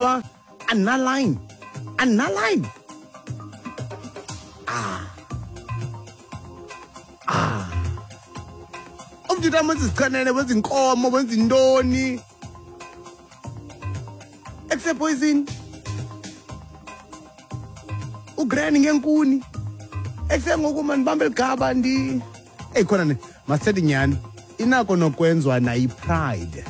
Uba andinaline, andinaline. Ah, ah, umntu wenza izichenene, wenza inkomo, wenza intoni, ekusepoison ugrani ngenkuni, ekusengoku mandibambe ligaba ndi. Eyi, khona ne masithethe nyhani, inako nokwenziwa nayipride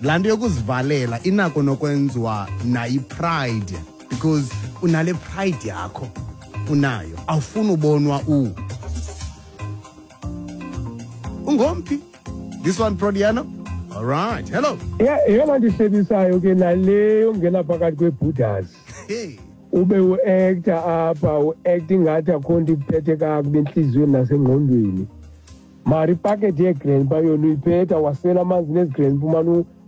laa nto yokuzivalela, inako nokwenziwa nayipride, because unale pride yakho unayo, awufuni ubonwa ungomphi. This one, Prodiano. All right, hello. Eyona nto ihlebisayo ke nale yongena phakathi kweebhudas. Hey. Ube uacta apha, uacta ingathi akho nto ikuphethe kakubi entliziyweni nasengqondweni, mara ipakethi yegrandpa yona uyiphetha, wasela amanzi nezigrandpa,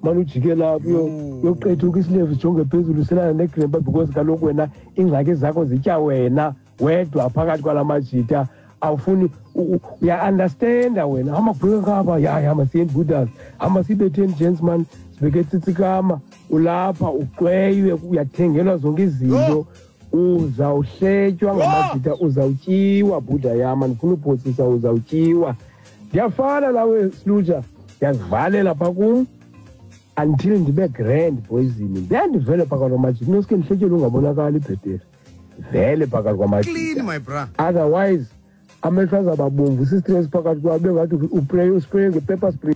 umane ujike lapho uyoqethuka isilevu sijonge phezulu, uselana negrandpa, because kaloku wena iingxaki zakho zitya wena wedwa phakathi kwala majita. Awufuni uya-understanda wena, hamba kubheka ngapha, ya hamba siyeni budas, hamba sibetheni gents man, sibeke tsitsikama. Ulapha uxweywe, uyathengelwa zonke izinto, uzawuhletywa ngamajita, uzawutyiwa bhuda yam, andifuna uphosisa, uzawutyiwa. Ndiyafana nawe Sluja, ndiyazivalela phaa kum until ndibe grand poison, then ndivele phakathi kwamajita, noske ndihletyelwe ungabonakali, ibhetere vele phakathi kwamajita. Clean, my bra. Otherwise amehlo azawuba bomvu sistress phakathi kwabe ngathi upray, uspraye nge-pepper spray.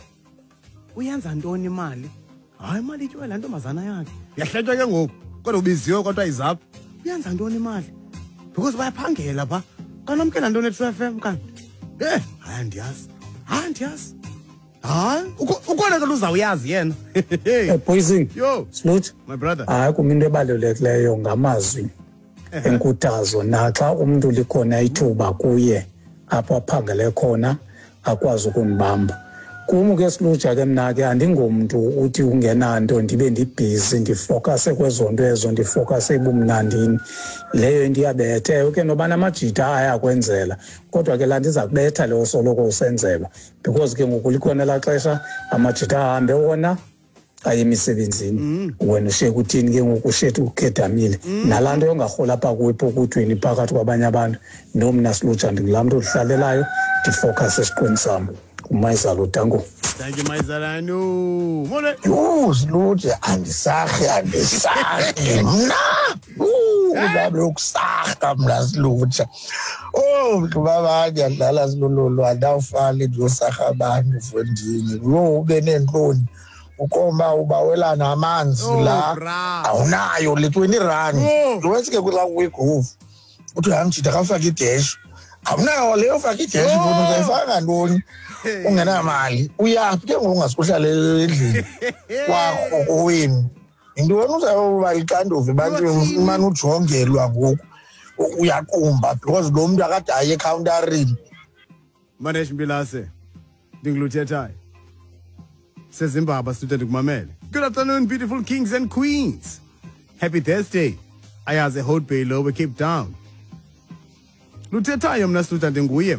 Uyenza ntoni imali? Hayi, imali ityiwe laa ntombazana yakhe, uyahletywa ke ngoku, kodwa ubiziwe, kodwa izapha. Uyenza ntoni imali? Because bayaphangela phaa, kanamkela ntoni eTrue FM kanti? Hayi, andiyazi, hayi, andiyazi, hayi, ukhona ke luzawuyazi yena. Poison. Yo. Slut. My brother. Hayi, kum into ebalulekileyo ngamazwi enkuthazo, naxa umntu likhona ithuba kuye apho aphangele khona akwazi ukundibamba. Kum ke Siluja ke mna ke andingomntu uthi ungenanto ndibe ndibhizi, ndifokase kwezo nto ezo, ndifokase ebumnandini. Leyo into iyabetha ke noba namajita ayakwenzela, kodwa ke laa nto iza kubetha leyo soloko usenzelwa, because ke ngoku likhona elaa xesha amajita ahambe wona aye emisebenzini, wena ushiye kuthini ke ngoku, ushiye ukhedamile. Nalaa nto yongarhola apha kuwe epokothweni phakathi kwabanye abantu. No, mna Siluja ndingulaa mntu odihlalelayo, ndifowukhase esiqweni sam. Umayizalo, danko. Thank you, Mayizalano. Mole. Yho, Siluje, andisarhi, andisarhi mna. Uzame ukusarha mna Siluja. Oh, mntu baba, ndiyadlala Silululu, andawufane ndiyosarha abantu mfondini. Yho, ube neentloni. Ukoma ubawelana amanzi Oh, la. bra. Awunayo le 20 rand. Oh. Wesi ke kula kwigroove. Uthi hayi mjita, khawufake ideshi. Awunayo leyo, faka ideshi. Oh. Ntoni uzayifaka ntoni? Ungenamali. Uyaphi ke ngoku ungasukuhlala endlini kwakho kowenu? Yintoni uzawuba lixanduva ebantwini, umane ujongelwa ngoku? Uyaqumba because lo mntu akade aye ekhawuntarini. Manesh Mbilase, ndinguluthethayo. Sezimbaba student ndikumamele. Good afternoon, beautiful kings and queens. Happy Thursday. Ayaze Hout Bay lo Cape Town. Luthethayo mna student ndinguye.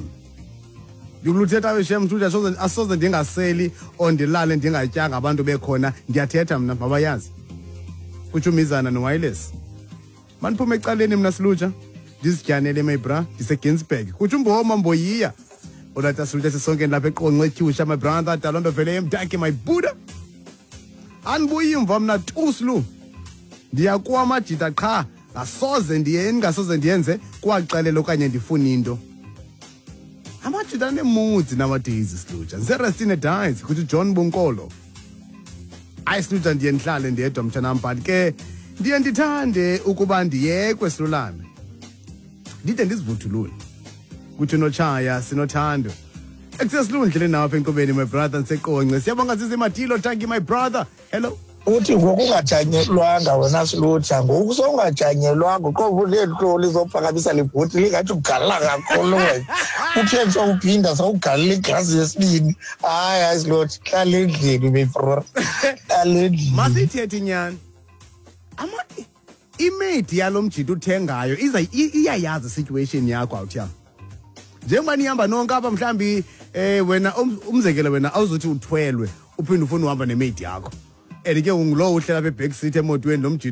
Ndikuluthethayo shem student, asoze ndingaseli or ndilale ndingatyanga abantu bekhona, ndiyathetha mna, mabayazi. Kutsho umizana no-wireless. Maniphume ecaleni mna Siluja, ndizityanele my bra, ndiseGinsberg. Kutsho umboma mboyiya. Olata Siluja, sisonke lapha eQonce eTyusha, my brother, Dalondo vele emdaki, my Buddha. Andibuyi mva mna tu Silu. Ndiyakuwa amajita qha, ngasoze ndiye, ndingasoze ndiyenze kwaxelela okanye ndifune into. Amajita aneemoods nowadays Siluja. Ngiserestine Dies kuthi John Bonkolo. Hayi Siluja, ndiye ndihlale ndedwa mtshanam, but ke ndiye ndithande ukuba ndiyekwe silulame, ndide ndizivuthulule. Kuthi notshaya sinothando. Ekusesilundlele nawe apha enkqubeni, my brother, ndiseQonce. Siyabonga sisi Matilo, thank you my brother. Hello. Uthi ngoku ungajanyelwanga wena Siluja, ngoku sowungajanyelwanga, uqobo uneentloli zophakamisa le bhoti lingathi ugalela kakhulu wena. Uthe sowuphinda sowugalela iglasi yesibini. Hayi, hayi Siluja, hlala endlini before. Hlala endlini. Masithethe inyani. Imedi yalo mjita uthengayo iza iyayazi situation yakho awuthi. Njengoba nihamba nonke apha mhlambi, wena umzekelo wena awuzothi uthwelwe uphinde ufune uhamba nemate yakho. And ke ungulowo uhlela apha eback seat emotweni lo mjita.